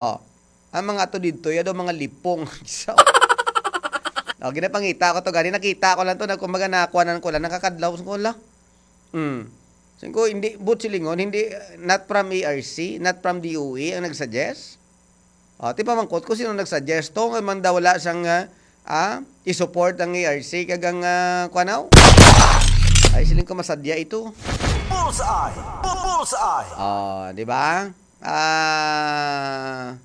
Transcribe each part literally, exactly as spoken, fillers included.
Oh. Ang mga ato dito, ya daw mga lipong. So, oh, ginapangita ko to gani, nakita ko lang to, na kumbaga nakuanan ko lang, nakakadlaw ko lang. Hmm. Singko, hindi, but silingon, hindi, not from A R C, not from D O A ang nag-suggest. Oh, ti pamangkot ko sino nag-suggest to, nga man daw wala sang, ah, ah, i-support ang A R C kag ang, ah, kuan, aw? Ay, siling ko masadya ito. Bullseye! Bu-, bullseye! Oh, di ba? Ah,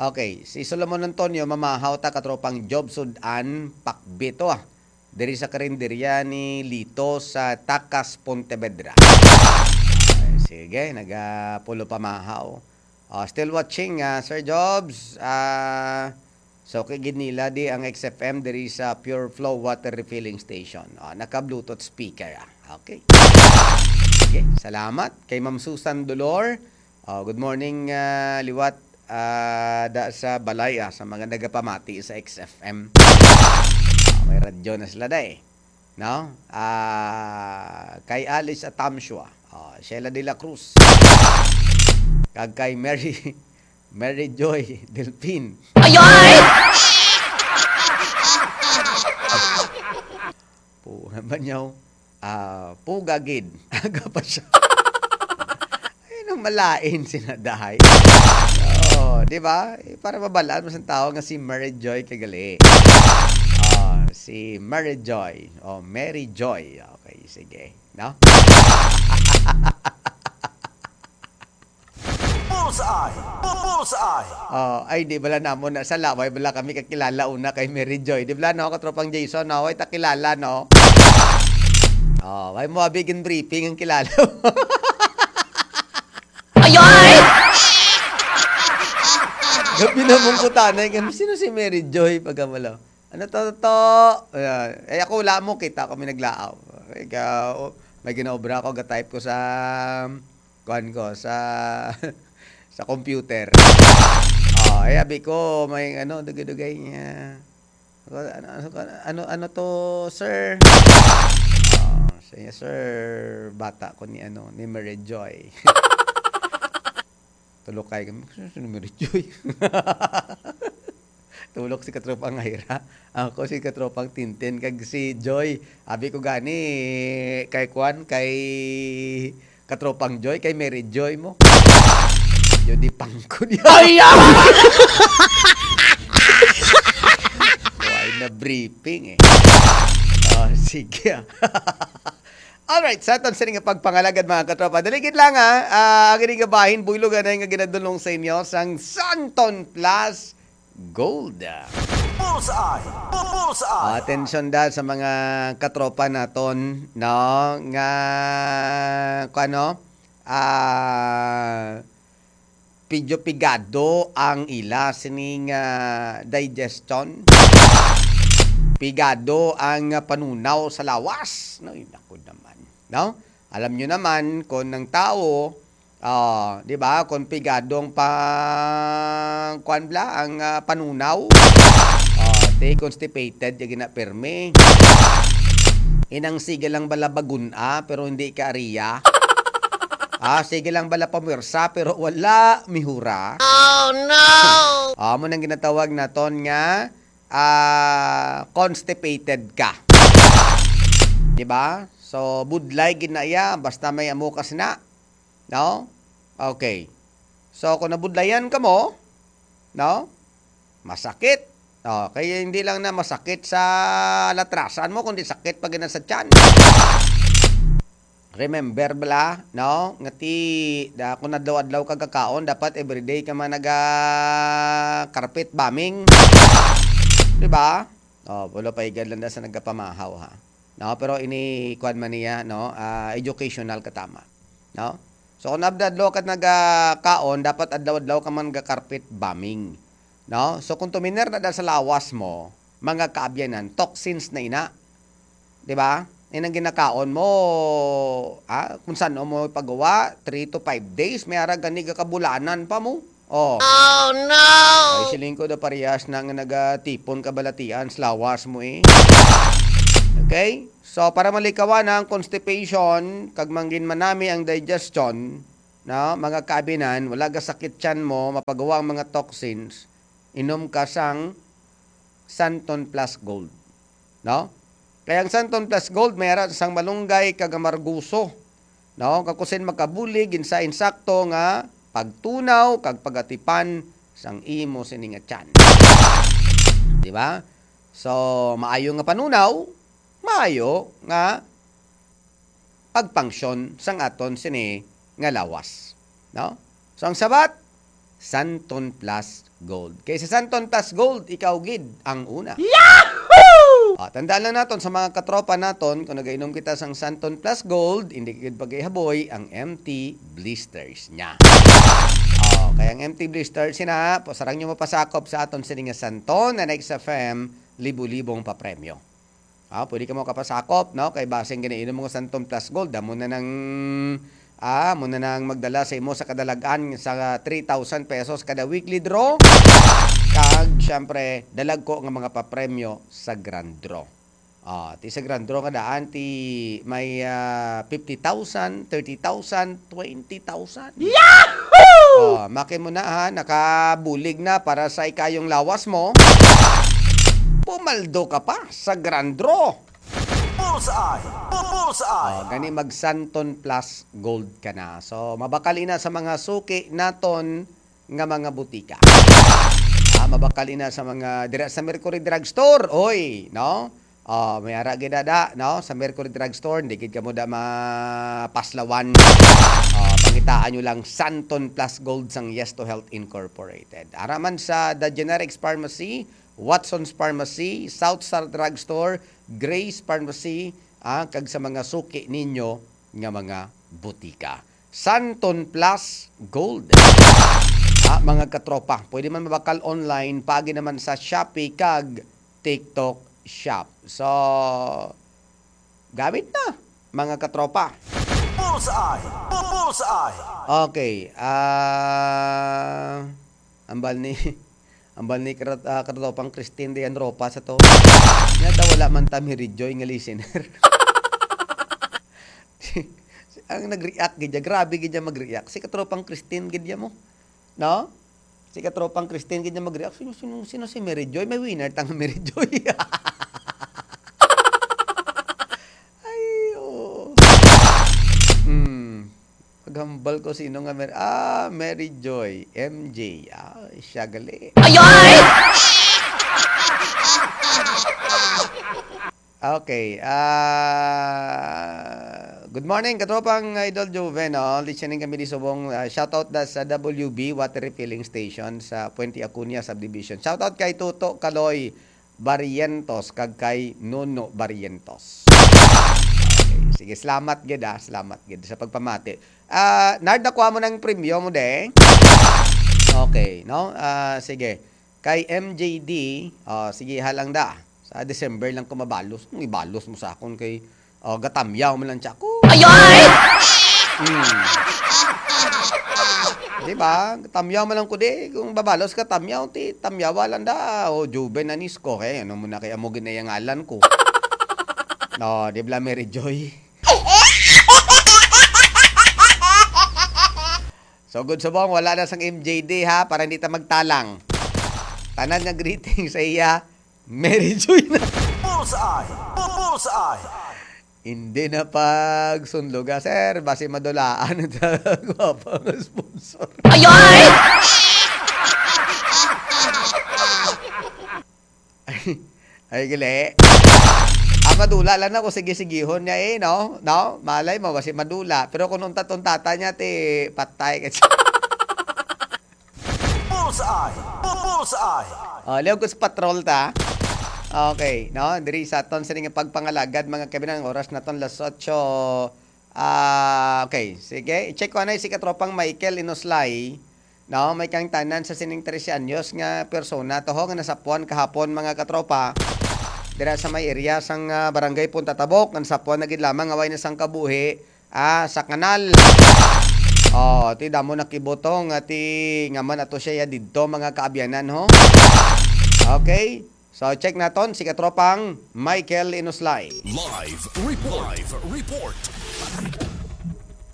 okay, si Solomon Antonio, mamahaw ta, katropang Job Sudan, pakbito, ah. Diri sa karinderya ni Lito sa Takas, Pontevedra. Ay, sige, nagapulo pamahaw. Oh, still watching, ah, Sir Jobs. Ah, so, kay gid nila di ang X F M diri sa Pure Flow Water Refilling Station. Oh, naka-Bluetooth speaker, ah. Okay. Sige, salamat kay Ma'am Susan Dolor. Oh, good morning, ah, liwat, ah, da sa balay, ah, sa mga nagapamati sa X F M. Ah, may radyo na sila, day. No? Ah, kay Alice Atamshua, oh, Sheila de la Cruz, kag kay Mary, Mary Joy Delfin. Ayoy! Puga ba niyaw? Ah, puga gid. Aga pa siya. Ay, nang malain si Nadahay. Oh, di ba? Eh, para mabalaan mo sa tao nga si Mary Joy kagali. Oh, si Mary Joy. Oh, Mary Joy. Okay, sige. No? Bullseye! Bu-, bullseye! Oh, ay, di bala namo na sa laway, bala kami kakilala una kay Mary Joy. Di bala, no, katropang Jason, no? Way ta kilala, no? Oh, way mo abi gin-briefing ang kilala mo. Ayoy! Gabi na mong kutanay kami, sino si Mary Joy? Pagkamalo. Ano to, to? Ayan. Eh, ako, wala mo, kita ko may naglaaw. Ikaw, may ginaobra ko, ga-type ko sa, kuan ko, sa, sa computer. Oh, eh, abi ko, may, ano, dugay-dugay niya. Ano, ano, ano, ano, ano to, sir? Oh, siya, sir, bata ko ni, ano, ni Mary Joy. Tulokay kami. Sino si Mary Joy? Tulok si Katropang Ira. Ako si Katropang Tintin kag si Joy. Abi ko gani kay kuan, kay Katropang Joy, kay Mary Joy mo. Yo di pangkod. Ay, ah! Why na briefing eh? Oh, sige, ah. Alright, sa aton sini nga pagpangalagad, mga katropa, dali gid lang, ha. Ah, ang ining bahin, buylog anay nga ginadulong sa inyo sang Santon Plus Gold. Bullseye! Bu-, bullseye! Atensyon da sa mga katropa naton, no, nga, kuno, ah, medyo pigado ang ila sining, ah, digestion. Pigado ang, ah, panunaw sa lawas. No, ay, naku naman, no? Alam nyo naman kung ang tao, ah, di ba, kung pigado ang pa-, kuwan bala, ang, ah, panunaw, ah, di constipated, yung gina-, permi. Inang sige lang bala bagun-a, pero hindi ka ariya. Ah, sige lang bala pamwersa, pero wala mihura. Oh, no! Amo nang ginatawag naton nga, ah, constipated ka. Di ba? So, budlay gid na iya, basta may amukas na. No? Okay. So, kung nabudlayan ka mo, no? Masakit. Oh, kaya hindi lang na masakit sa latrasan mo, kundi sakit pa gina sa tiyan. Remember bala, no? Nga ti, da, kung adlaw-adlaw ka kakaon, dapat everyday ka man naga carpet bombing. Di ba? Oh, wala pa igad lang da sa nagapamahaw, ha. No, pero ini kuan man niya, no? Ah, educational ka tama, no? So, kung adlaw-adlaw ka nagakaon, dapat adlaw-adlaw ka man ga carpet bombing, no? So, kung tuminer na da sa lawas mo, mga kaabyanan, toxins na ina. Di ba? Inang ginakaon mo, ah, kung saan mo pagawa, three to five days, may ara gani ga kabulanan pa mo. Oh. Oh, no! Ay, siling ko da parehas na nga nagatipon kabalatian sa lawas mo eh. Okay? So, para malikawan ang constipation, kag mangin manami ang digestion, no, mga kaabinan, wala gasakit tiyan mo, mapagawa ang mga toxins, inom ka sang Santon Plus Gold, no? Kaya ang Santon Plus Gold may ara sang malunggay kag amargoso, no? Kag kusin makabulig gid sa insakto nga pagtunaw kag pagatipan sang imo sini nga tiyan. Di ba? So, maayo nga panunaw, maayo nga pagpangsyon sang aton sini nga lawas, no? So, ang sabat, Santon Plus Gold. Kay sa Santon Plus Gold, ikaw gid ang una. Yahoo! Ah, tandaan lang naton sa mga katropa naton, kung nagainom kita sang Santon Plus Gold, hindi gid pagkaihaboy ang M T blisters niya. Oh, kay ang M T blisters sina, po sarang nyo mapasakop sa aton sini nga Santon na X F M, libo-libong papremyo. Ah, pwede ka mo kapasakop, no? Kay basing ginainom mo Santon Plus Gold, amo na nang, ah, amo na nang magdala sa imo sa kadalag-an sa three thousand pesos kada weekly draw. Kag, syempre, dalagko nga mga papremyo sa grand draw. Ah, ti sa grand draw nga daan, ti may, ah, fifty thousand, thirty thousand, twenty thousand. Yahoo! Oh, makin mo na, ha, nakabulig na para sa ikayong lawas mo. Pumaldo ka pa sa grand draw. Bullseye! Bu-, bullseye! Oh, gani mag Santon Plus Gold ka na. So, mabakal ina sa mga suki naton nga mga butika. Ah, mabakal ina sa mga dira sa Mercury Drugstore, oy, no? Ah, may ara gid da, no? Sa Mercury Drugstore, hindi gid kamo da mapaslawan. Ah, pangitaan nyo lang Santon Plus Gold sang Yes to Health Incorporated. Ara man sa The Generics Pharmacy, Watson's Pharmacy, South Star Drugstore, Grace Pharmacy, ah, kag sa mga suki ninyo nga mga butika. Santon Plus Gold. Ah, mga katropa, pwede man mabakal online, paagi naman sa Shopee kag TikTok Shop. So, gamit na, mga katropa. Bullseye! Bu-, bullseye! Okay, ah, ambal ni, ambal ni krat-, ah, katropang Christine diyan ropa sa to. Nya daw wala man ta Mary Joy nga listener. Ang nag-react gid niya, grabe gid niya mag-react. Si katropang Christine gid niya mo. No? Si katropang Christine gid niya mag-react. Sino, sino, sino si Mary Joy? May winner tang Mary Joy. Ay, oo. Hmm. Paghambal ko sino nga Mary, ah, Mary Joy, M J. Ah, siya gali. Ay, ay! Okay, ah, good morning, katropang Idol Juven, no? Listening kami di subong, ah, shoutout da sa W B Water Refilling Station sa Puente Acuña Subdivision. Shoutout kay Toto Kaloy Barrientos kag kay Nuno Barrientos. Okay, sige, salamat gid, ah, salamat gid sa pagpamati. Ah, Nard, nakuha mo ng premyo mo, de? Okay, no? Ah, sige. Kay M J D, ah, sige, ha lang da. Sa December lang ko mabalos. Kung ibalos mo sa akon kay, oh, gatamyaw man lang siya ko. Ay, ay! Hmm. Di ba? Gatamyaw man lang ko di. Kung babalos ka, tamyaw, ti, tamyawa lang da. O, Juven Anisco. Eh, ano mo na kaya mo ginayangalan ko? No, di ba, Mary Joy? So, good subong, wala na sang M J D, ha, para hindi ta magtalang. Tanan nga greeting sa iya, Mary Joy na. Bullseye! Bu-, bullseye! Hindi na pagsunloga, sir. Basi madulaan ang gwapa nga sponsor. Ay, ay! Ay, gali. Ah, madula lang ako. Sige-sigihon niya eh, no? No? Malay mo, basi madula. Pero kung untat-untata niya, ti, patay ka siya. Bullseye! Bu-, bullseye! Oh, liog ko sa patrol ta. Okay, no? Diri sa aton sini nga pagpangalagad, mga kabinan, oras naton las otso. Ah, okay. Sige, i-check ko anay si katropang Michael Inoslay. No, may kang tanan sa sining trese anyos nga persona to ho nga nasapuan kahapon, mga katropa. Dira sa may area sang, ah, Barangay Punta Tabok, nga nasapuan na gid lamang nga way na sang kabuhi, ah, sa kanal. Oh, ti damo nakibuto nga ti nga man ato siya ya didto, mga kaabyanan, ho. Okay. So, check naton si katropang Michael Inoslay. Live report. Live report.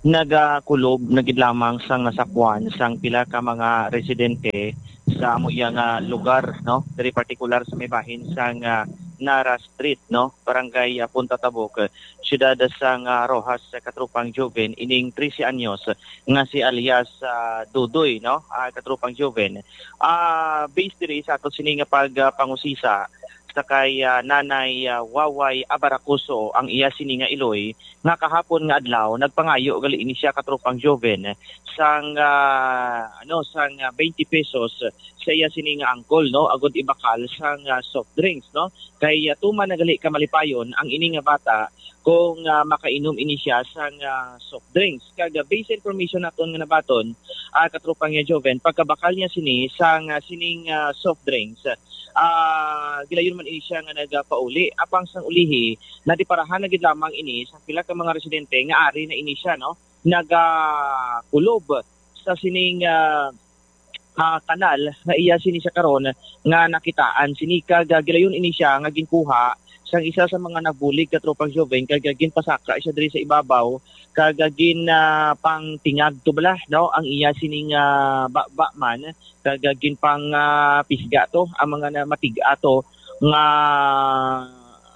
Nagakulob na gid lamang sang nasakwan sang pila ka mga residente sa amo iya nga lugar, no? Diri partikular sa may bahin sang, ah, Nara Street, no? Barangay, ah, Punta Tabok, siyudad sang, ah, Roxas, sa Katropang Joven, ining trese anyos nga si alias, ah, Dudoy, no? Ah, Katropang Joven. Ah, based diri sa ato sini nga pag, ah, pangusisa sa kay, ah, Nanay, ah, Waway Abaracoso ang iya sini nga iloy, nga kahapon nga adlaw nagpangayo gali ini siya, Katropang Joven, sang, ah, ano, sang, ah, twenty pesos sa iya sini nga angkol, no, agud ibakal sang, ah, soft drinks, no, kay, ah, tuman na gali ka malipayon ang ini nga bata kung, ah, makainom ini siya sang, ah, soft drinks. Kag, ah, based sa information naton nga nabaton, ah, Katropang, ah, Joven, pagkabakal niya sini sang, ah, sining, ah, soft drinks, ah, gilayon man ini siya nga nagapauli. Apang sang ulihi, nadiparahan na gid lamang ini sa pila ka mga residente nga ari na ini siya, no, nagakulob sa sining, ah, ah, kanal nga iya sini sa karon nga nakitaan sini. Kag, ah, gilayon ini siya nga ginkuha sang isa sa mga nagbulig, Katropang Joven, kag, ah, ginpasaka siya diri sa ibabaw, kag, ah, gin, ah, pangtingag to bala, no, ang iya sining, ah, baba man, kag, ah, ginpang, ah, pisga to ang mga na-, matig-a to nga,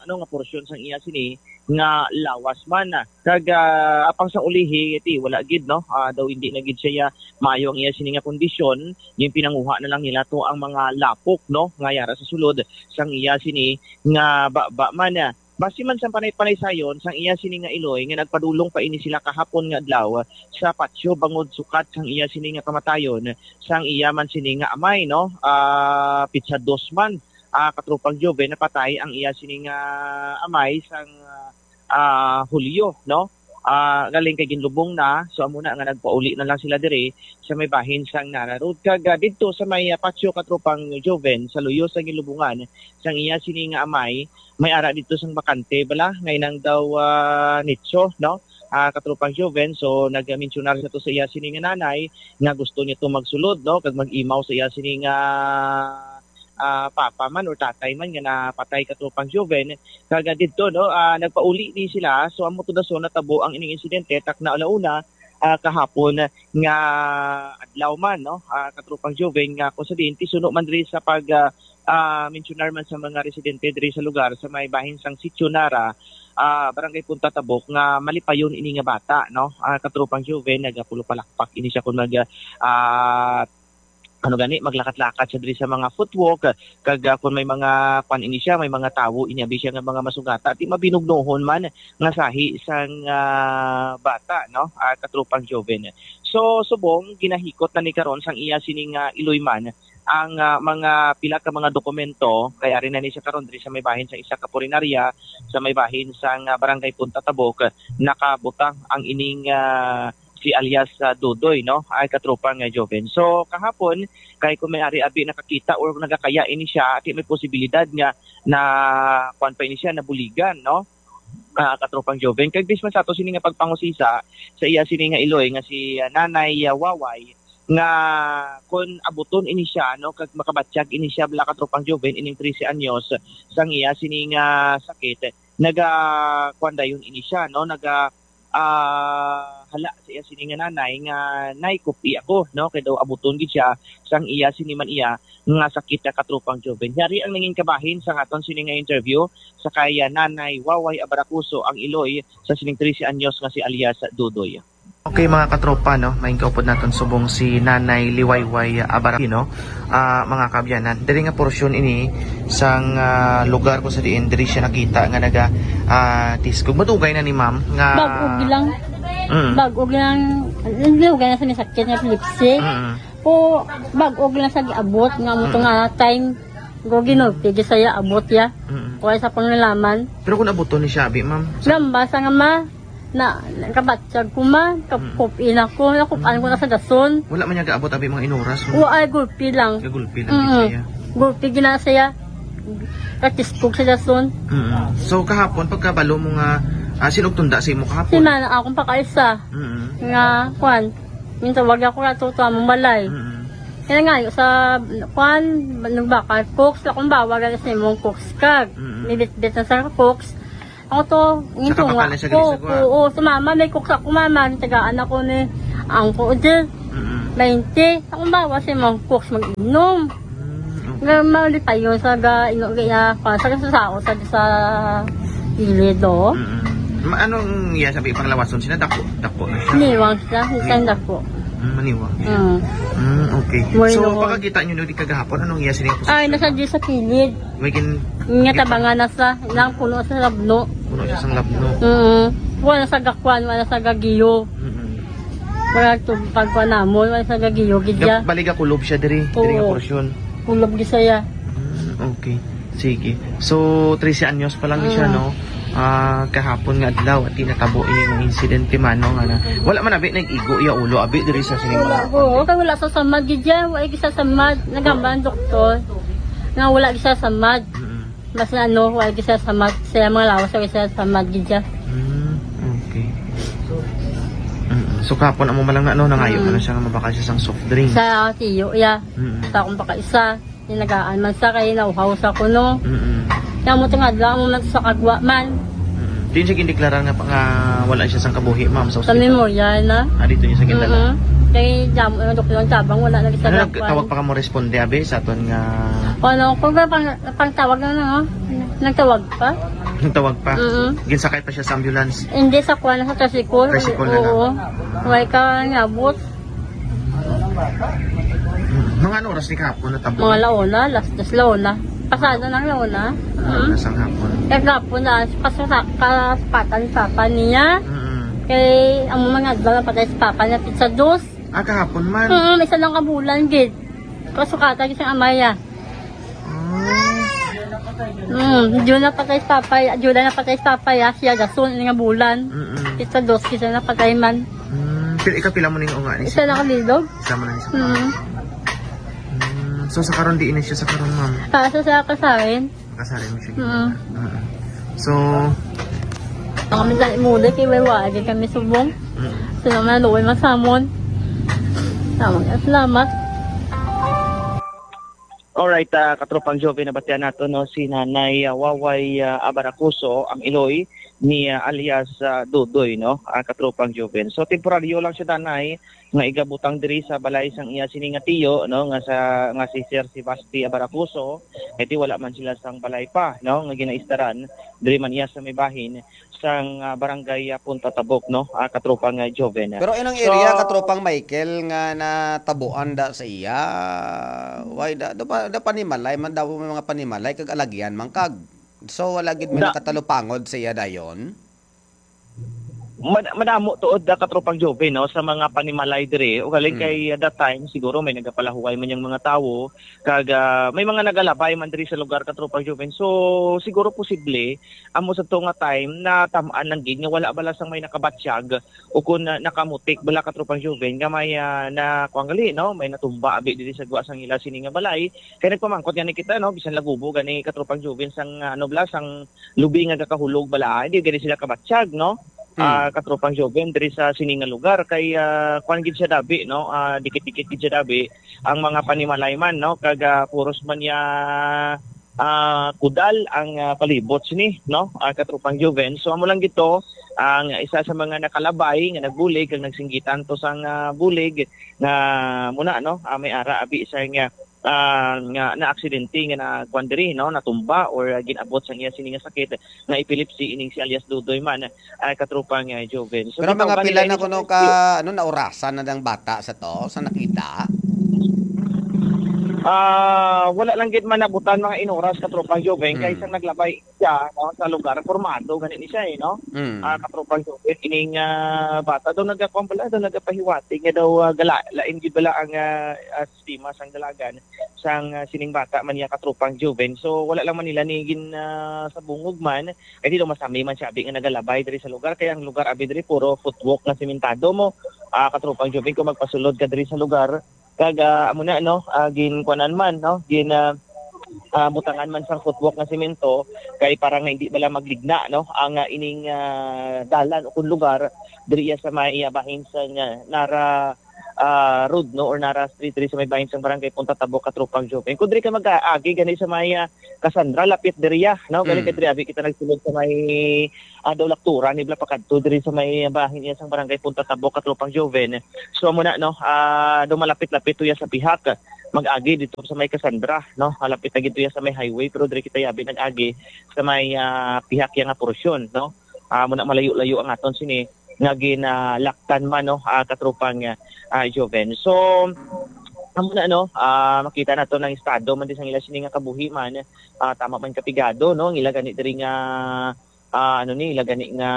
ano, nga porsyon sang iya sini nga lawas man. Kag, ah, apang sang ulihi, ti, wala gid, no? Ah, daw hindi na gid siya maayo ang iya sini nga kondisyon. Ginpinanguha na lang nila to ang mga lapok, no, nga yara sa sulod sang iya sini nga baba man. Basi man sang panay-panay sayon sang iya sini nga iloy nga nagpadulong pa ini sila kahapon nga adlaw sa patio bangod sukat sang iya sini nga kamatayon sang iya man sini nga amay, no? Ah, pitsa dos man, ah, Katropang Joven, napatay ang iya sini nga amay sang, ah, Hulyo, no? Ah, galing kay ginlubong na, so amo na nga nagpauli na lang sila diri sa may bahin sang Nara Road. Kag, ah, didto sa may, ah, patio, Katropang Joven, sa luyo sa ginlubungan sang iya sini nga amay, may ara didto sang bakante bala, nga inang daw, ah, nicho, no? Ah, Katropang Joven, so nagmensionar siya to sa iya sini nga nanay nga gusto niya to magsulod, no, kag mag-imaw sa iya sini nga, ah, papa man or tatay man nga napatay, Katropang Joven. Kag, ah, didto, no, ah, nagpauli ni sila. So, amo to dason natabo ang ining insidente, takna alauna, ah, kahapon nga adlaw man, no, ah, Katropang Joven, nga kung sa diin ti suno man diri sa pag, ah, ah, mensionar man sa mga residente diri sa lugar sa may bahin sang Sitio Nara, ah, Barangay Punta Tabok, nga malipayon ini nga bata, no, ah, Katropang Joven, nagapulupalakpak ini siya kung mag, ah, ano gani, maglakat-lakat siya diri sa mga footwalk, kag, ah, kung may mga kwan ini siya, may mga tawo ini abi siya nga mga masugata, ti mabinugnohon man nga sahi sang, ah, bata, no, ah, Katropang Joven. So, subong ginahikot na ni karon sang iya sini nga iloy man ang, ah, mga pila ka mga dokumento, kay ari na ni siya karon diri sa may bahin sa isa ka punerarya, sa may bahin sang, ah, Barangay Punta Tabok, nakabutang ang ining, ah, si alias, ah, Dudoy, no, ay Katropang, ah, Joven. So, kahapon, kay kung may ari abi nakakita or nagakaya ini siya, ti may posibilidad nga na, kuwan pa ini siya, nabuligan, no? Ah, Katropang Joven. Kay based man sa ato sini nga pagpangusisa sa iya sini nga iloy nga si, ah, Nanay, ah, Waway, nga kon abuton ini siya, no, kag makabatyag ini siya, bala, Katropang Joven, ining trese anyos sang iya sini nga sakit, naga, kuwan dayon ini siya, no, naga, ah, hala sa iya sini nga nanay nga, "Nay, kupi ako," no, kay daw abuton gid siya sang iya sini man iya nga sakit, nga Katropang Joven. Yari ang nangin kabahin sa aton sini nga interview sa kay, ah, Nanay Waway Abaracuso, ang iloy sa sining trese anyos nga si alias Dudoy. Okay, mga katropa, no, main kaupod naton subong si Nanay Liwayway Abaracuso, no? Ah, mga kaabyanan, diri nga porsyon ini sang, ah, lugar kung sa diin diri siya nakita nga naga, ah, tiskog. Madugay na ni ma'am nga Bag-o lang. Mm. Bag-o lang. Hindi ko ganyan sa may sakit nga epilepsy. Mm. Po, bag-o lang sa giabot nga mo to Mm. nga time. Go ginulpi, di saya abot ya. Mm. Wala sa panglalaman. Pero kung abuton ni siya, abi, ma'am? Lamba sa nga ma, na, nakabatyag ko ma, Mm. kakup-in ako, nakup-an ko na sa dason. Wala man niya gaabot, abi, mga inuras, no? Wa ay gulpi lang. Kagulpi lang, Mm. di siya. Gulpi gina siya. Katiskog sa dason. Mm. So, kahapon, pagkabalo mo nga, ah, sino og tunda sa imo kahapon? Si mana akong pakaisa. Mm. Nga, kwan, minsan wag ako natuto among balay. Mm. Kaya nga, sa, kwan, nagbakal, cooks, akong bawa, gani sa imong cooks kag. Mm. Nibitbit na sa cooks. Ako to, gintunga ko. Sa kapakal na siya, Grisagwa? Oo, sa mama, may cook sa ako, mama. Tagaan ako ni Angko, di. Mm-mm. Baynte. Ako bawa si Mang Cooks mag-inom. Mm, okay. Nga, mali pa yun sa ga, ino, ga, ya, pa, sa, sa, sa, sa, sa kilid, oh. Mm-mm. Ma-, anong iya sabi pang lawason? Sina dako, dako na siya? Niwang siya, isang dako. Mm, maniwang siya. Mm. Mm, okay. May So, noon. Pagkakita nyo no, di kagahapon, anong iya sining Ay, posisyon? Nasa di sa kilid. May gin-, Nga gin- tabangan na sa, nang puno sa labno. Puno siya sang labno. Mm. Wala sa gakwan, wala sa gagiyo. Mm-mm. Wala to pagkuha namon, wala sa gagiyo, gidya. Gab-, bali gakulob siya diri, diri nga Oo. Porsyon. Kulob di saya. Mm, okay. Sige. So, trese anyos pa lang siya, Mm. no? Ah, kahapon nga adlaw, at natabo ini nga insidente man, no? Nga na, wala man abi nag-igo iya ulo, abi diri sa sining mga Oo, kay wala sa samad, gidya. Wala sa samad. Nagamba ang doktor. Nga wala sa samad. Mm-mm. Mas na ano, wala sa samad. Sa mga lawas, wala sa samad, gidya. Mm, okay. Mm-mm. So, kahapon, amo man lang na, no? Nangayo Mm. man lang siya nga mabakal siya sang soft drink. Sa tiyo, ya. Mm-mm. Sa akong baka isa. Tinagaan man sa kay nauhaw sa kuno. Mm-mm. Kaya mo tingadla mo man sa kagwa man. Mm-mm. Diin siya gindeklara nga, nga wala siya sang kabuhi, ma'am, sa Sa ospital? Memorial na. Ah, dito niya sa gindala? Mm-mm. Kay damo yung doktor ng tabang, wala na siya Ano, nagkuan. Nagtawag pa ka mo responde, abi, sa aton nga Ano, kung ba pang, pang tawag na, no? Nagtawag pa? Nagtawag pa? Mm-mm. Ginsakay pa siya sa ambulance? Hindi, sa kuan, sa tricycle. Tricycle na lang. Oo. Wala ka niabot. Mga ano oras ni kahapon natabo? Mga launa, alas dos launa. Pasado ng launa. Ano Mm. oras ang hapon? Kagapon na, pasasa-, kaspatan ni Papa niya. Mm. Kay, ang mga adlaw na patay si Papa niya, pizza dos. Ah, kahapon man? Mm, isa lang kabulan, gid. Kasukatan isang amay, ah. Ah. Mm, June na patay si Papa, June na patay si Papa, ah, siya, gasun, nga bulan. Mm-mm. Pizza dos, isa na patay man. Mm, pil-, ikaw, pila mo ning unga ni Isa siya? Lang kalilog. Isa mo lang isa. Mm. Mm, so, sa karon, diin na siya sa karon, ma'am? Ah, sa, sa Kasarin. Kasarin mo siya, Mm. ginawa. Mm. So, Ang kami sa imuli, kay may wala din kami subong. Mm. Sila man, luoy man samon. Salamat, salamat. Alright, ah, katropang Joven, nabatian nato, no, si Nanay, ah, Waway, ah, Abaracuso, ang iloy ni, ah, alias, ah, Dudoy, no, ah, katropang Joven. So, temporaryo lang siya, Nanay, nga igabutang diri sa balay sang iya sini nga tiyo, no, nga sa, nga si Sir Sebasti Abaracuso, kay ti wala man sila sang balay pa, no, nga ginaistaran, diri man iya sa may bahin sang, ah, barangay, ah, Punta Tabok, no, ah, katropang, ah, Joven. Pero inang So, area, katropang Michael, nga natabuan da sa iya, why da, da pa, da panimalay man daw, may mga panimalay, kag alagyan man kag. So, wala gid may Da- nakatalupangod sa iya dayon? Mad-, madamo tuod da katropang Joven, no, sa mga panimalay diri. Ugaling Mm. kay, uh, that time, siguro may nagapalahuway man yung mga tawo. Kag, ah, may mga nagalabay man diri sa lugar, katropang Joven. So, siguro posible, amo sa to nga time, natam-an lang gid nga wala bala sang may nakabatyag o kung na-, nakamutik bala, katropang Joven, nga may, ah, na, kuwan gali, no, may natumba abi diri sa gwa sang ila sini nga balay. Kay nagpamangkot gani kita, no, bisan lagubo gani, katropang Joven, sang, ah, ano bala, sang lubi nga gakahulog bala, hindi gani sila kabatyag, no? Hmm. Ah, katropang Joven, diri sa sini nga lugar kay, ah, kuwan gid siya dabi, no? Ah, dikit-dikit gid siya dabi ang mga panimalay man, no? Kag, ah, puros man niya, ah, kudal ang, ah, palibot sini, no? Ah, katropang Joven. So, amo lang gid to ang isa sa mga nakalabay nga nagbulig kag nagsinggitan to sang, ah, bulig nga muna, no? Ah, may ara abi sa nga ah, nga naaksidente nga na kuwan diri, no, natumba or, ah, gin-abot sang iya sini nga sakit nga epilepsy, ining si alias Dudoy man, ah, katropang, ah, Joven. So, Pero mga gitawag pila nila na ini kuno sa ka, ano, naurasan na dang bata sa to, sa nakita? Ah, wala lang gid man nabutan mga inoras, katropang Joven, kay Mm. sang naglabay siya, no, sa lugar, pormado gani ni siya, eh, no? Mm. Ah, katropang Joven, ining, ah, bata daw nagakuan pala, daw nagapahiwatig nga daw, ah, gala-, lain gid bala ang, ah, ah, sistema sang dalagan sang, ah, sining bata man niya, katropang Joven. So, wala lang man nila ni gin, ah, sa bungog man, kay di daw masami man siya abi nga nagalabay diri sa lugar, kay ang lugar abi diri puro footwalk nga sementado mo, ah, katropang Joven, kung magpasulod ka diri sa lugar, kag, ah, amo na, no, ah, ginkuanan man, no, gin, ah, ah, butangan man sang footwalk nga semento, kay para nga hindi bala magligna, no, ang, ah, ining, ah, dalan o kung lugar diri iya sa may, ah, bahin sa nga nara ah, Road, no, or Nara Street diri sa may bahin sang Barangay Punta Tabok, Katropang Joven. Kung diri ka mag-agi gani sa may, ah, Cassandra, lapit diri, ah, no? Galing Mm. ka diri, abi kita nagsulod sa may, ah, daw Laktura, ni Bla pakadto diri sa may bahin niya sang Barangay Punta Tabok, Katropang Joven. So, amo na, no? Ah, daw malapit-lapit to ya sa pihak. Mag-agi dito sa may Cassandra, no? Ah, lapit na gid to ya sa may highway, pero diri kita yabi nag-agi sa may, ah, pihak ya nga porsyon, no? Ah, amo na, malayo-layo ang aton sini nga ginalaktan man, no, ah, Katropang, ah, ah, Joven. So, amo na, no, ah, makita nato ang estado man di sang ila sini nga kabuhi man, ah, tama man kapigado, no, ang ila gani diri nga, ah, ano ni, ila gani nga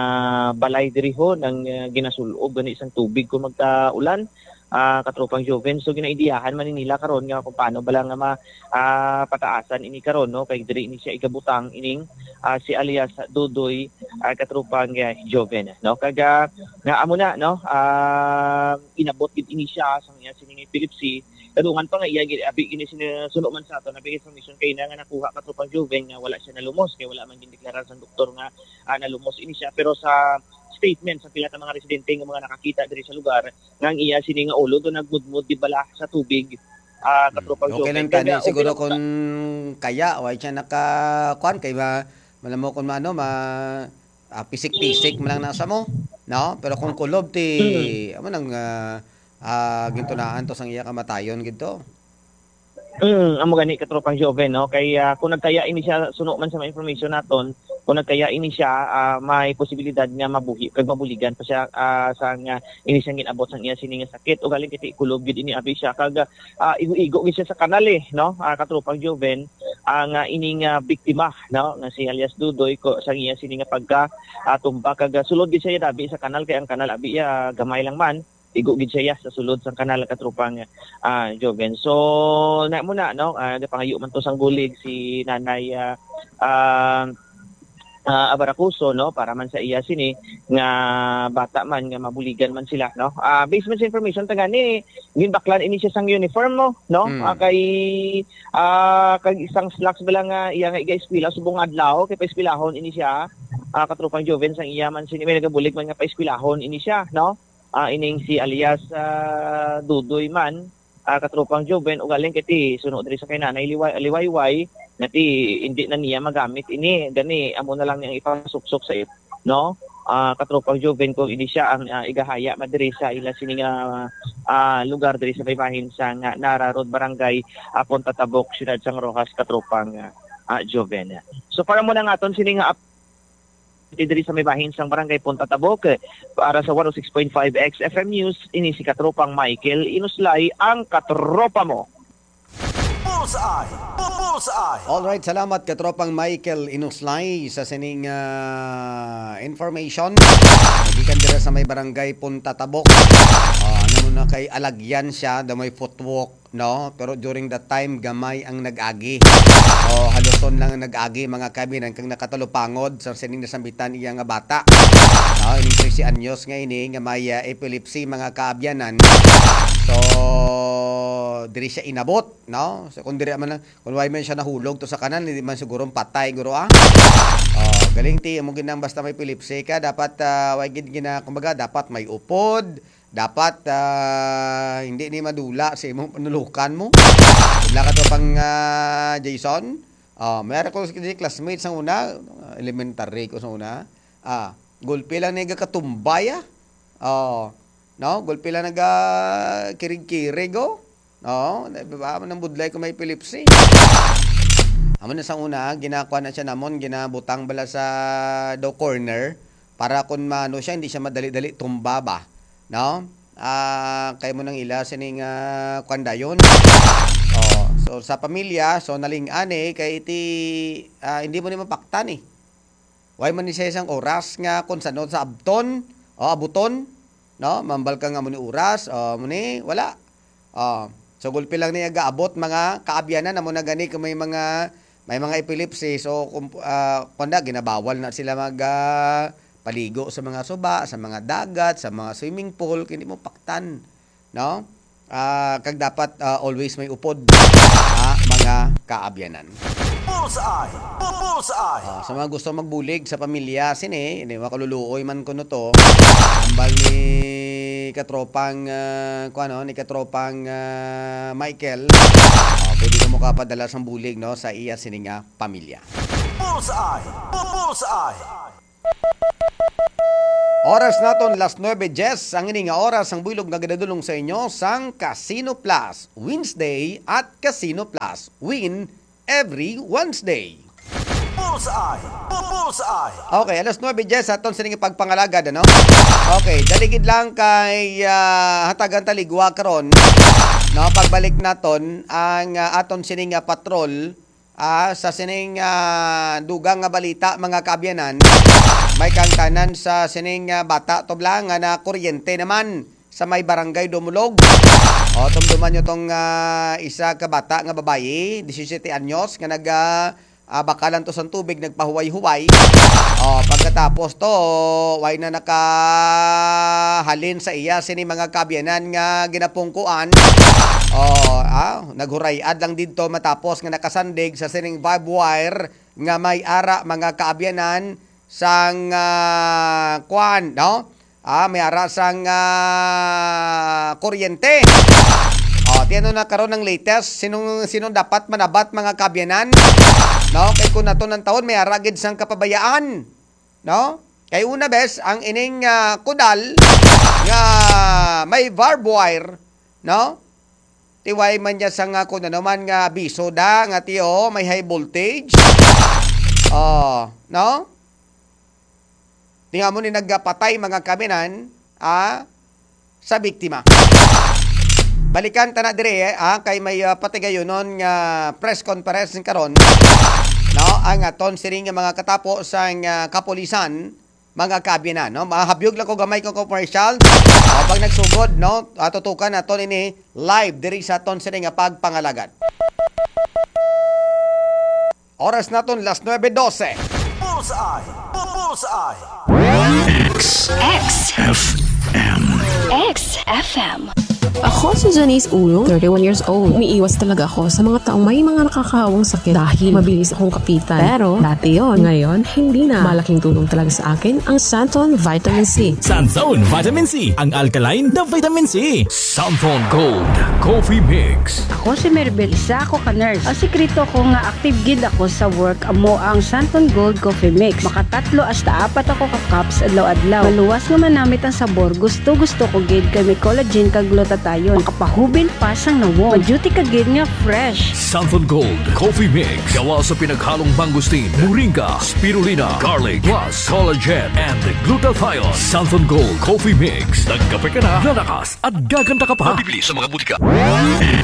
balay diri ho nang, ah, ginasul-ob gani sang tubig kung magka-ulan, ah, Katropang Joven. So, ginaidiyahan man ni nila karon nga kung paano bala nga ma-, ah, pataasan ini karon, no, kay diri ini siya igabutang ining, ah, si alias Dudoy, ah, Katropang, ah, Joven, no? Kag, ah, nga amo na, no? Ah, inabot gid ini siya sang iya sini nga epilepsy. Kadungan pa nga iya gid, abi gini sini suno man sa aton, abi information kay na nga nakuha, Katropang Joven, nga wala siya nalumos kay wala man gindeklarar sang doktor nga, ah, nalumos ini siya. Pero sa statement sa pila ka mga residente nga mga nakakita diri sa lugar, nga ang iya sini nga ulo do nagmudmod di bala sa tubig, ah, Hmm. Katropang Okay Joven. Lang Kag, tani, ah, okay siguro lang kung kaya, why siya naka-, kuwan, kay ma-, malamo kung maano, ma-, ah, pisik-pisik man lang nasa mo, no? Pero kung kulob, ti, Mm. amo nang, ah, ah, gintunaan to sang iya kamatayon gid to. Mm, amo gani, Katropang Joven, no? Kay, ah, kung nagkaya ini siya, suno man sa mga information naton, kung nagkaya ini siya, ah, may posibilidad nga mabuhi, kag mabuligan pa siya, ah, sa nga ini siyang ginabot sang iya sini nga sakit. Ugaling kiti kulob gid ini abi siya, kag, ah, igo-igo gid siya sa kanal, eh, no? Ah, Katropang Joven, ang, ah, ining, ah, biktima, no, nga si alias Dudoy, ko, sa iya sini nga pagka, ah, tumba, kag, ah, sulod gid siya dabi sa kanal, kay ang kanal abi, ah, gamay lang man, igo gid siya sa sulod sang kanal, Katropang, ah, Joven. So, na mo na, no, ah, napangayo man to sang bulig si Nanay, ah, ah, ah, Abaracuso, no, para man sa iya sini nga bata man nga mabuligan man sila, no. Ah, based man sa information ta gani, ginbaklan ini siya sang uniform, no, no? Mm. Ah, kay, ah, kag isang slacks bala nga iya nga iga-eskwela subong adlaw, kay paeskwelahon ini siya, ah, Katropang Joven, sang iya man sini, may nagabulig man nga paeskwelahon ini siya, no? Ah, ining si alias, ah, Dudoy man, ah, Katropang Joven, ugaling kay ti suno diri sa kay Nanay Liway-, Liwayway, nga ti hindi na niya magamit ini, gani amo na lang niyang ipasuksok sa ip-, no? Ah, Katropang Joven, kung ini siya ang, ah, igahaya man diri sa ila sini nga, ah, lugar diri sa may bahin sa nga Nara Road, Barangay, ah, Punta Tabok, Siyudad sang Roxas, Katropang, ah, ah, Joven. So, para mo na nga aton sini nga diri sa may bahin sang Barangay Punta Tabok, eh, para sa one oh six point five X F M News, ini si Katropang Michael Inuslay, ang katropa mo. Bullseye! Bu-, Bullseye! Alright, salamat, Katropang Michael Inuslay, sa sining, ah, information. Gikan dira sa may Barangay Punta Tabok. Ah, ano mo na kay alagyan siya, daw may footwalk, no? Pero during that time, gamay ang nag-agi. O, haluson lang ang nag-agi, mga kaabyanan, kag nakatalupangod sa sining nasambitan iya nga bata. No? Ining trese anyos nga ini nga may, ah, epilepsy, mga kaabyanan. So, diri siya inabot, no? So, kung diri man lang, kung wala man siya nahulog to sa kanal, hindi man siguro patay, guro, ah. Oh, galing ti, amo gid nang basta may epilepsy ka, dapat, ah, way gid gina-, kumbaga, dapat may upod, dapat, ah, hindi ni madula sa imong panulukan mo. Wala ka to pang, ah, Jason. Oh, may ara ko si classmate sa una, elementary ko sa una. Ah, gulpi lang ni gakatumbay, ah. Oh, no, gulpi lang naga kirig-kirig, oh. Oh, di ba, nang budlay ko may epilepsy. Amo na sa una, ginakuha na siya namon, ginabutang bala sa daw corner. Para kun maano siya, hindi siya madali-dali tumba ba, no? Ah, kay mo nang ila sining, ah, kuwan dayon. Oh, so sa pamilya, so naling-an eh, kay iti, ah, hindi mo ni mapaktan eh. Way man ni siya isang oras nga kung sano sa abton, o abuton, no? Mambal ka nga mo ni oras, o mo ni, wala. Oh, so gulpi lang niya gaabot mga kaabyanan, amo na gani kung may mga, may mga epilepsy. So, kung, ah, kung na, ginabawal na sila mag, ah, paligo sa mga suba, sa mga dagat, sa mga swimming pool, kay hindi mo paktan, no? Ah, kag dapat, ah, always may upod, ah, mga kaabyanan. Bullseye! Bu-, Bullseye! Ah, sa mga gusto magbulig sa pamilya, sini, hindi makaluluoy man kuno to. Ambal ni ni katropang, ah, kuwan, no, ni katropang, ah, Michael, ah, pwede ka makapadala sang bulig, no, sa iya sining, ah, pamilya. Bullseye! Bullseye! Oras naton, las nuebe dies, ang ini nga oras ang buylog nga ginadulong sa inyo sang Casino Plus Wednesday at Casino Plus Win every Wednesday. Bullseye! Bullseye! Okay, alas nuebe dies aton sining pagpangalagad, ano? Okay, dali gid lang kay, ah, hatagan ta ligwa karon, no? Pagbalik naton ang, ah, aton sining, ah, patrol, ah, sa sining, ah, dugang nga balita, mga kaabyanan. May kaangtanan sa sining, ah, bata tubla nga nakuryente naman sa may barangay Dumulog. O, tumduman nyo tong, ah, isa ka bata nga babayi, disisiyete anyos, nga nag, ah, ah, bakalan to sang tubig, nagpahuway-huway. O, pagkatapos to, way na nakahalin sa iya sini mga kaabyanan nga ginapungkuan. O, ah, naghuray-ad lang didto matapos nga nakasandig sa sining barbed wire nga may ara, mga kaabyanan, sang, ah, kwan, no? Ah, may ara sang, ah, kuryente. O, ti ano na karon ang latest? Sinong, sinong dapat manabat, mga kaabyanan? No? Kay kung nato nang taon, may ara gid sang kapabayaan. No? Kay una, bes, ang ining, ah, kudal nga may barbed wire, no? Ti way man niya sa nga kung ano man nga abiso da, nga ti, oh, may high voltage. Oh, no? Ti nga mo ni nagapatay, mga kaabyanan, ah, sa biktima. Balikan ta na dire, ah, kay may, ah, patigayonon nga press conference karon, no? Ang aton sining nga mga katapo sang, ah, kapulisan, mga kaabyanan, no? Mahabyog lang ko gamay ko commercial. O, pag nagsugod, no? Ah, tutukan naton ini live diri sa aton sini nga pagpangalagad. Oras naton, las nuebe dose. Bullseye! Bullseye! X. X. F M. X F M. Ako si Janice Ulong, thirty-one years old. Umiiwas talaga ako sa mga taong may mga nakakahawang sakit dahil mabilis akong kapitan. Pero dati yon, ngayon hindi na. Malaking tulong talaga sa akin ang Santon Vitamin C. Santon Vitamin C, ang alkaline na vitamin C. Santon Gold Coffee Mix. Ako si Merbel, isa ako ka nurse. Ang sikreto ko nga active gid ako sa work amo ang Santon Gold Coffee Mix. Makatatlo hasta apat ako ka cups adlaw-adlaw. Maluwas nga manamit ang sabor, gusto-gusto ko gid kay may collagen kag glutathione. Makapahubil pa sang nawong. Ma-duty ka gid nga fresh. Santon Gold Coffee Mix. Gawa sa pinaghalong mangosteen, moringa, spirulina, garlic, plus collagen and glutathione. Santon Gold Coffee Mix. Nagkape ka na, lalakas at gaganda ka pa. Mabibili sa mga butika.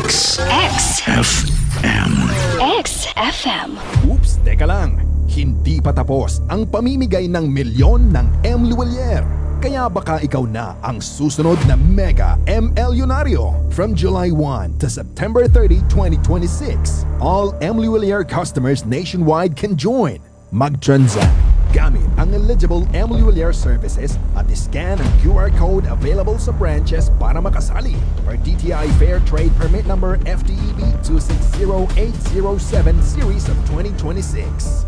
X. X. F M. X F M. Oops, teka lang. Hindi pa tapos ang pamimigay ng milyon ng M Luwalier. Kaya baka ikaw na ang susunod na mega M L Yunaryo. From July one to September thirty, twenty twenty-six, all M Luwalier customers nationwide can join. Mag-transact gamit ang eligible M Luwalier services at scan ang Q R code available sa branches para makasali. Per D T I Fair Trade Permit Number F T E B two six zero eight zero seven series of twenty twenty-six.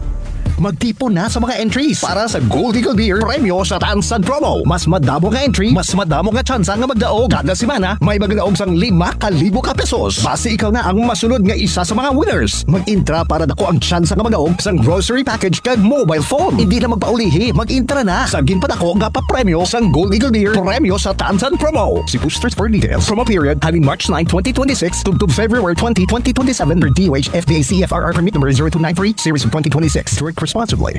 Magtipon na sa mga entries para sa Gold Eagle Beer Premyo sa Tansan Promo. Mas madamo nga entry, mas madamo nga tsansa nga magdaog. Kada semana, may magdaog sang lima ka libo ka pesos. Basi ikaw na ang masunod nga isa sa mga winners. Mag-intra para dako ang tsansa nga magdaog sang grocery package kag mobile phone. Hindi na magpaulihi, mag-intra na sa ginpadako nga papremyo sang Gold Eagle Beer Premyo sa Tansan Promo. See posters for details. Promo period halin March nine, twenty twenty-six, tubtob February twenty, twenty twenty-seven, per D O H F D A C F R R permit number zero two nine three, series of twenty twenty-six. Drink responsibly.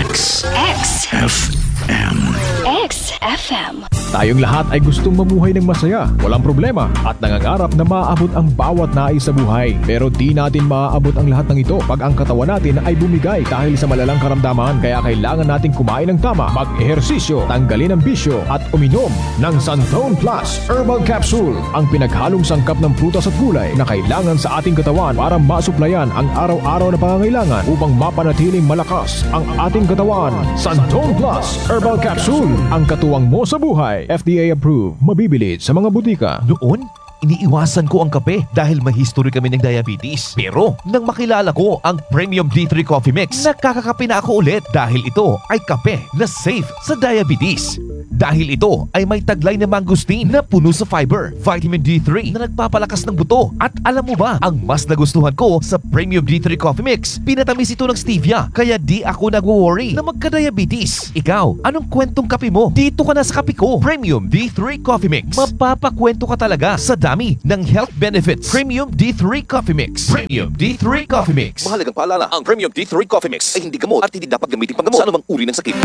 X. X. F M. X F M. Tayong lahat ay gustong mamuhay ng masaya, walang problema, at nangangarap na maabot ang bawat nais sa buhay. Pero di natin maaabot ang lahat ng ito pag ang katawan natin ay bumigay dahil sa malalang karamdaman. Kaya kailangan nating kumain ng tama, mag-ehersisyo, tanggalin ang bisyo, at uminom ng Santon Plus Herbal Capsule, ang pinaghalong sangkap ng prutas at gulay na kailangan sa ating katawan para masuplayan ang araw-araw na pangangailangan upang mapanatiling malakas ang ating katawan. Santon Plus Herbal Capsule, ang katuwang mo sa buhay. F D A approved. Mabibili sa mga butika. Noon, iniiwasan ko ang kape dahil may history kami ng diabetes. Pero nang makilala ko ang Premium D three Coffee Mix, nakakakape na ako ulit dahil ito ay kape na safe sa diabetes. Dahil ito ay may taglay na mangosteen na puno sa fiber, vitamin D three na nagpapalakas ng buto. At alam mo ba, ang mas nagustuhan ko sa Premium D three Coffee Mix, pinatamis ito ng stevia, kaya di ako nagwo-worry na magka-diabetes. Ikaw, anong kwentong kape mo? Dito ka na sa kape ko. Premium D three Coffee Mix. Mapapakwento ka talaga sa dami ng health benefits. Premium D three Coffee Mix. Premium D three Coffee Mix. Mahalagang paalala, ang Premium D three Coffee Mix ay hindi gamot at hindi dapat gamitin panggamot sa anumang uri ng sakit.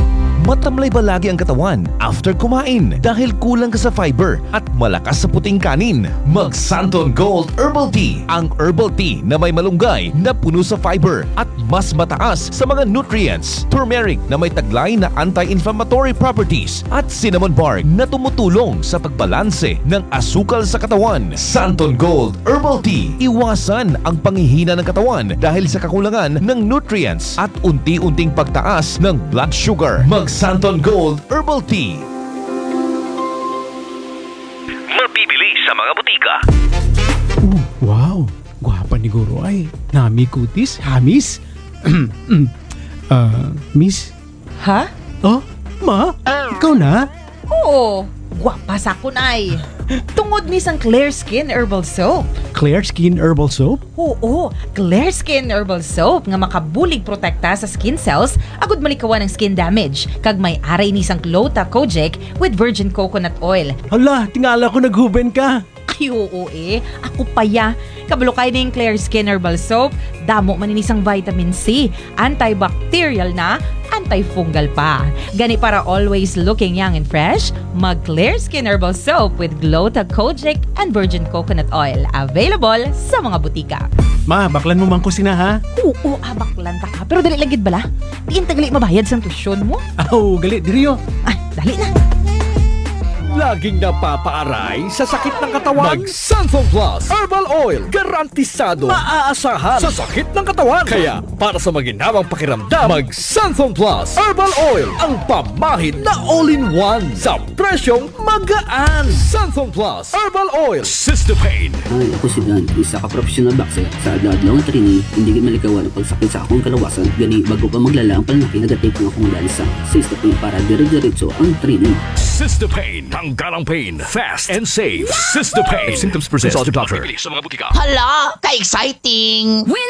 Matamlay ba lagi ang katawan after kumain dahil kulang ka sa fiber at malakas sa puting kanin? Mag Santon Gold Herbal Tea, ang herbal tea na may malunggay na puno sa fiber at mas mataas sa mga nutrients, turmeric na may taglay na anti-inflammatory properties, at cinnamon bark na tumutulong sa pagbalanse ng asukal sa katawan. Santon Gold Herbal Tea. Iwasan ang panghihina ng katawan dahil sa kakulangan ng nutrients at unti-unting pagtaas ng blood sugar. Mag Santon Gold Herbal Tea. Mabibili sa mga butika. Oh, wow! Gwapa ni Guro ay. Nami kutis, hamis. Ah, miss? Ha? Oh, ma? Ikaw na? Oo, gwapa sa akon ay. Tungod ni sang Clear Skin Herbal Soap. Clear Skin Herbal Soap? Oo, Clear Skin Herbal Soap nga makabulig protekta sa skin cells agud malikawan ang skin damage. Kag may aray ni sang Glota Kojic with virgin coconut oil. Hala, tingala ko naghuben ka. Ay, oo eh. Ako pa ya. Kabalo kay ning Clear Skin Herbal Soap. Damo man ini sang vitamin C. Antibacterial na, antifungal pa. Gani para always looking young and fresh, mag Clear Skin Herbal Soap with Glota Kojic and Virgin Coconut Oil. Available sa mga butika. Ma, baklan mo man ko sina ha? Oo, abaklan ta ka. Pero dali lang gid bala. Diin tagali mabayad sang tuition mo? Aw, gali, diri oh. Ay, dali na. Laging napapaaray sa sakit ng katawan? Mag Santhon Plus Herbal Oil. Garantisado, maaasahan sa sakit ng katawan. Kaya, para sa maginhawang pakiramdam, mag Santhon Plus Herbal Oil. Ang pamahid na all-in-one sa presyong magaan. Santhon Plus Herbal Oil. Sister Pain. Hi, ako si Dan, isa ka professional boxer. Sa adlaw-adlaw nga training, hindi gid malikawan ang pagsakit sa akong kalawasan. Gani, bago pa maglala ang pananakit, nagatape ang akong lansa sa stocking para dire-diretso ang training. Sister Pain. Tanggal ang pain. Fast and safe. Sister Pain. If symptoms persist, consult your doctor. Sa mga butika. Hala, ka-exciting! Win